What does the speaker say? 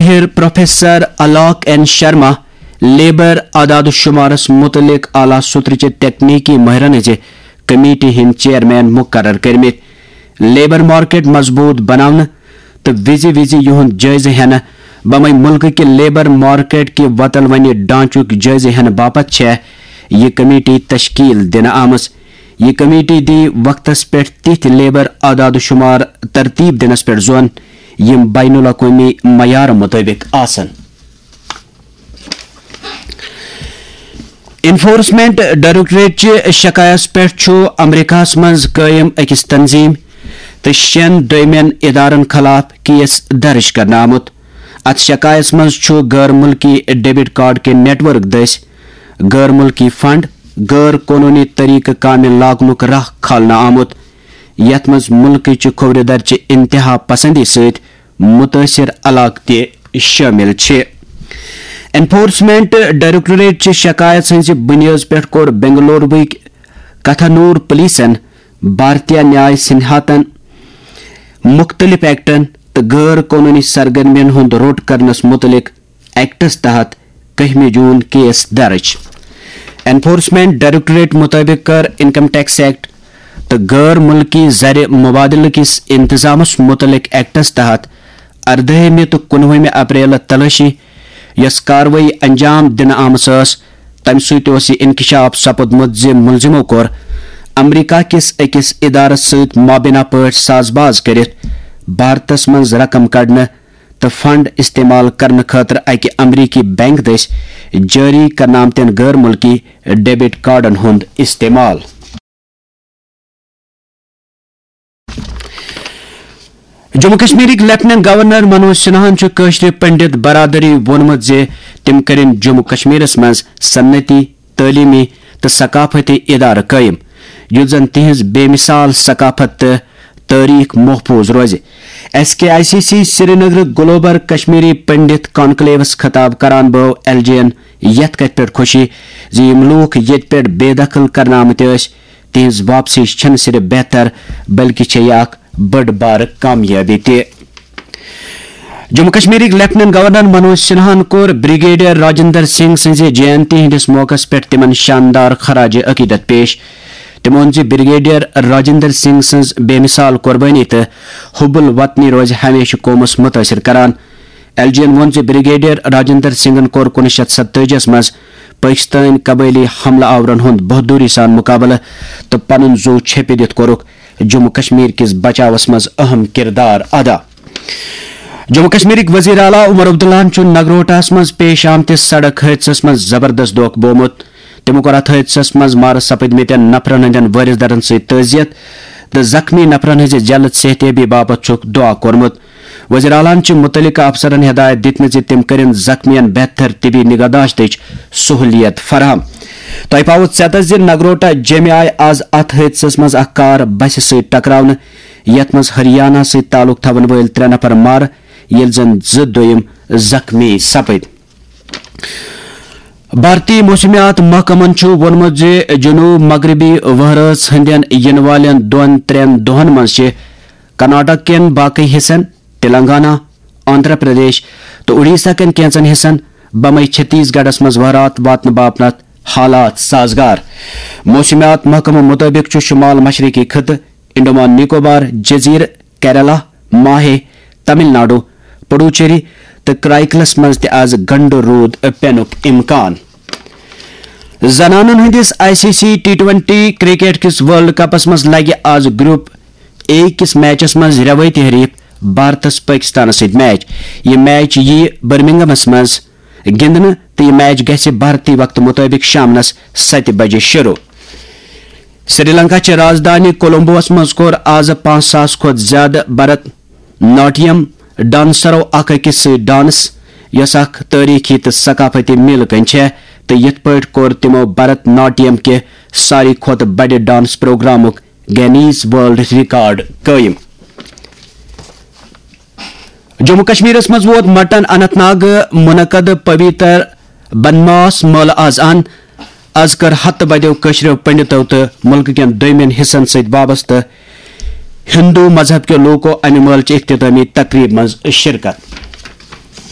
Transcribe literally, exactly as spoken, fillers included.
ماہر professor Alok N Sharma labour اعداد و شمارس متعلق اعلیٰ سطرٕچہِ تکنیکی ماہرن ہٕنٛزِ کمیٹی ہٕنٛدۍ چیئرمین مقرر کٔرمٕتۍ۔ لیبر مارکیٹ مضبوط بناونہٕ تہٕ وِزِ وِزِ یِہُنٛد جٲیزٕ ہٮ۪نہٕ بمے مُلکہٕ کہِ لیبر مارکیٹ کہِ وۄتلوٕنہِ ڈھانچُک جٲیزٕ ہٮ۪نہٕ باپتھ چھےٚ یہِ کمیٹی تشکیل دِنہٕ آمٕژ۔ یہِ کمیٹی دی وقتس پٮ۪ٹھ تِتھۍ لیبر اعداد و شمار ترتیب دِنس پٮ۪ٹھ زون، یِم بین الاقوٲمی معیارٕ مُطٲبِق آسن۔ انفورسمنٹ ڈائریکٹوریٹ چہِ شکایس پٮ۪ٹھ چھُ امریکہس منٛز قٲیِم أکِس تنظیٖم تہٕ شٮ۪ن دوٚیمٮ۪ن ادارن خلاف کیس درج کرنہٕ آمُت۔ اتھ شکایس منٛز چھُ غٲر مُلکی ڈیبٹ کارڈ کہِ نیٹ ورک دٔسۍ غٲر مُلکی فنڈ غٲر قونوٗنی طریقہٕ کامہِ لاگنُک راہ کھالنہٕ آمُت، یتھ منٛز مُلکٕچہِ کھوورِ درچہِ انتہا پسندی سۭتۍ مُتٲثِر علاقہٕ تہِ شٲمِل چھِ۔ انفورسمنٹ ڈائریکٹوریٹ چہِ شکایت ہٕنٛزِ بُنیٲدِ پٮ۪ٹھ کوٚر بنگلورُک کتھانور پولیسن بھارتیہ نیاے سنہاتن مُختٔلِف ایکٹن تہٕ غٲر قونوٗنی سرگرمین ہُنٛد روٚٹ کرنس مُتعلق ایکٹس تحت کٔہمہِ جون کیس درج۔ انفورسمنٹ ڈائریکٹوریٹ مُطٲبِق کٔر انکم ٹیکس ایکٹ تہٕ غٲر مُلکی زرِ مبادلہٕ کِس انتظامس مُتعلق ایکٹس تحت اردٲہمہِ تہٕ کُنوُہمہِ اپریل تلٲشی، یۄس کاروٲیی انجام دِنہٕ آمٕژ ٲس، تَمہِ سۭتۍ اوس یہِ انکشاف سپُدمُت زِ مُلزِمو کوٚر امریکہ کِس أکِس ادارس سۭتۍ مابینہ پٲٹھۍ ساز باز کٔرِتھ بھارتس منٛز رقم کڑنہٕ تہٕ فنڈ استعمال کرنہٕ خٲطرٕ اکہِ امریکی بینک دٔسۍ جٲری کرنہٕ آمتٮ۪ن غٲر مُلکی ڈیبٹ کارڈن ہُنٛد استعمال۔ جموں کشمیرٕکۍ لیفٹیننٹ گورنر منوج سنہاہن چھُ کٲشرِ پنڈت برادری ووٚنمُت زِ تِم کٔرِن جموں کشمیرس منٛز صنعتی، تعلیمی تہٕ ثقافتی ادارٕ قٲیِم، یُتھ زن تِہنٛز بے مثال ثقافت تہٕ تٲریخ محفوظ روزِ۔ S K I C C Srinagar global Kashmiri Pandit کانکلیوس خطاب کران بٲو ایل جے یَن یتھ کتھِ پٮ۪ٹھ خوشی زِ یِم لوٗکھ ییٚتہِ پٮ۪ٹھ بے دخل کرنہٕ آمٕتۍ ٲسۍ، تِہنٛز واپسی چھنہٕ صرف بہتر، بلکہِ چھےٚ یہِ اکھ بٔڑ بارٕ کامیٲبی تہِ۔ جموں کشمیرٕکۍ لیفٹیننٹ گورنر منوج سنہاہن کوٚر بریگیڈیئر راجندر سنگھ سٕنٛزِ جینتی ہٕنٛدِس موقعس پٮ۪ٹھ تِمن شاندار خراج عقیدت پیش۔ تٔمۍ ووٚن زِ بریگیڈیئر راجندر سنگھ سٕنٛز بے مثال قربٲنی تہٕ حب الوطنی روزِ ہمیشہٕ قومس متٲثر کران۔ ایل جے یَن ووٚن زِ بریگیڈیئر راجندر سنگھن کوٚر کُنوُہ شیٚتھ ستٲجی منٛز پٲکستٲنۍ قبٲئلی حملہٕ آورن ہُنٛد بہادری سان مقابلہٕ تہٕ پنُن زُو چھیٚپہِ دِتھ کوٚرُکھ جموں کشمیر کِس بچاوس منٛز اہم کردار ادا۔ جموں کشمیرٕکۍ وزیر اعلیٰ عمر عبداللہن چھُ نگروٹاہس منٛز پیش آمتِس سڑک حٲدثس منٛز زبردست دھوکہٕ بومُت۔ تٔمۍ کوٚر اتھ حٲدثس منٛز مارٕ سپٕدمٕتٮ۪ن نفرن ہٕنٛدٮ۪ن وٲرث دارن سۭتۍ تعزیت تہٕ زخمی نفرن ہٕنٛزِ جلد صحتیابی باپتھ چھُکھ دعا کوٚرمُت۔ وزیر اعلیٰ ہَن چھِ مُتعلقہٕ افسرن ہدایت دِتمٕژ زِ تِم کٔرِن زخمیَن بہتر طبی نگہداشتٕچ سہولیت فراہم۔ تۄہہِ پاوٕ ژٮ۪تس زِ نگروٹا جیٚمہِ آیہِ آز اتھ حٲدثس منٛز اکھ کار بسہِ سۭتۍ ٹکراونہٕ، یتھ منٛز ہریانہ سۭتۍ تعلق تھاون وٲلۍ ترٛےٚ نفر مارٕ، ییٚلہِ زن زٕ دوٚیِم زخمی سپٕدۍ۔ بھارتی موسمیات محکمن چھُ ووٚنمُت زِ جنوب مغربی وہرٲژ ہٕنٛدٮ۪ن یِنہٕ والٮ۪ن دۄن ترٛٮ۪ن دۄہن منٛز چھِ کرناٹک کٮ۪ن باقٕے حصن، تلنگانہ، آندھرا پردیش تہٕ اڈیشہ کٮ۪ن کینٛژن حصن، بمے چھتیس گڑھس منٛز وہرات واتنہٕ باپتھ حالات سازگار۔ موسمیات محکمہٕ مُطٲبِق چھُ شمال مشرقی خطہٕ، انڈمان نکوبار جزیرٕ، کیرالہ، ماہے، تمل ناڈو، پڈوچیری تہٕ کرائیکلس منٛز تہِ آز گنڈٕ روٗد پینُک امکان۔ زنانن ہٕنٛدِس I C C T twenty cricket کِس ورلڈ کپس منٛز لگہِ آز گروپ اے کِس میچس منٛز رٮ۪وٲیتی حریف بھارتس پٲکستانس سۭتۍ میچ۔ یہِ میچ یِیہِ برمنگمس منٛز گِنٛدنہٕ تہٕ یہِ میچ گژھِ بھارتی وقتہٕ مُطٲبِق شامنس ستہِ بجہِ شروٗع۔ سری لنکا چہِ رازدانی کولمبوہس منٛز کوٚر آز پانٛژھ ساس کھۄتہٕ زیادٕ بھرت ناٹیم ڈانسرو اکھ أکِس سۭتۍ ڈانس، یۄس اکھ تٲریخی تہٕ ثقافتی میلہٕ کٔنۍ چھےٚ، تہٕ یِتھ پٲٹھۍ کوٚر تِمو بھرت ناٹیم کہِ ساروی کھۄتہٕ بڑِ ڈانس پروگرامُک گینیز ورلڈ ریکارڈ قٲیِم۔ جموں کشمیرس منٛز ووت مٹن اننت ناگ منعقد پویتر بنماس مٲلہٕ آز ان۔ از کٔر ہتہٕ بدیو کٲشرٮ۪و پنڈتو تہٕ مُلکہٕ کٮ۪ن دوٚیمٮ۪ن حصن سۭتۍ وابستہٕ ہندو مذہب کٮ۪و لوٗکو امہِ مٲلہٕ چہِ اختتٲمی تقریب منٛز شرکت۔